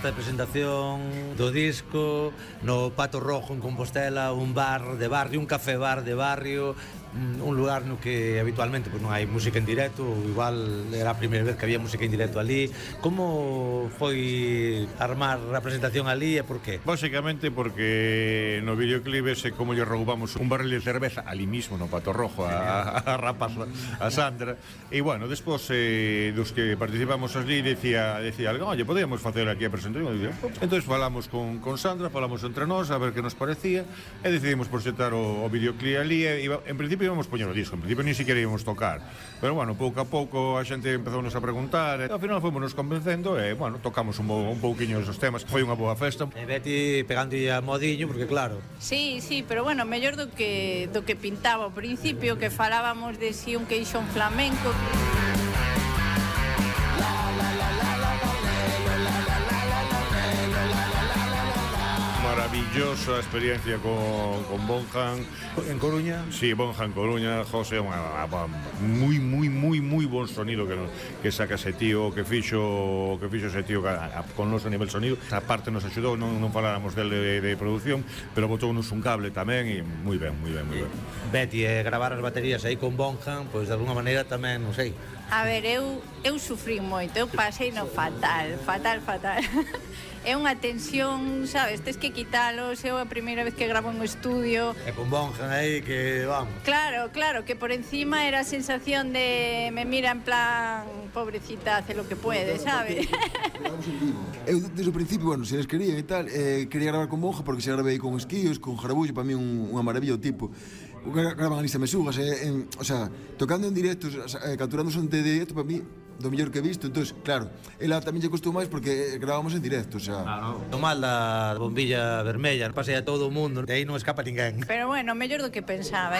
festa de presentación do disco no Pato Rojo en Compostela, un bar de barrio, un café bar de barrio, un lugar no que habitualmente pues, non hai música en directo, igual era a primeira vez que había música en directo ali. Como foi armar a presentación ali e por qué? Básicamente porque no videoclip ese como lle roubamos un barril de cerveza ali mismo no Pato Rojo a rapaz, a Sandra, e bueno, despois dos que participamos ali decía algo, oye, podíamos facer aquí a presentación. Entón falamos con Sandra, falamos entre nós a ver que nos parecía e decidimos proxectar o videoclip ali e en principio íbamos poñer o disco, en principio ni siquiera íbamos tocar, pero bueno, pouco a pouco a xente empezounos a preguntar e ao final fomos nos convencendo e bueno, tocamos un pouquiño esos temas, foi unha boa festa. E Betty pegando a modiño, porque claro. Sí, pero bueno, mellor do que pintaba ao principio, que falábamos de si un queixón flamenco. Maravillosa experiencia con Bonjan en Coruña. Sí, Bonjan Coruña, José, moi bon sonido que saca ese tío, que fixo ese tío con nos a nivel sonido. A parte nos axudou, non faláramos dele de producción, pero botounos un cable tamén e moi ben. Betty, gravar as baterías aí con Bonjan, pois de alguna maneira tamén, non sei. A ver, eu sufrí moito, eu pasei no fatal. É unha tensión, sabes, tes que quitalos, é a primeira vez que gravo en un estudio. E con Bonjan aí que vamos. Claro, que por encima era a sensación de me mira en plan, pobrecita, hace lo que puede, sabes? Eu desde o principio, bueno, se les querían e tal, quería gravar con Bonja porque se gravei con Esquíos, con Jarabullo, para mí unha maravilla o tipo. Graban ali Mesugas, o sea, tocando en directos, capturando son de directo, para mí do mellor que he visto. Entón, claro, ela tamén lle costou máis porque gravábamos en directo, o sea. O mal da bombilla vermella, pasei a todo o mundo, de aí non escapa ninguén. Pero bueno, mellor do que pensaba,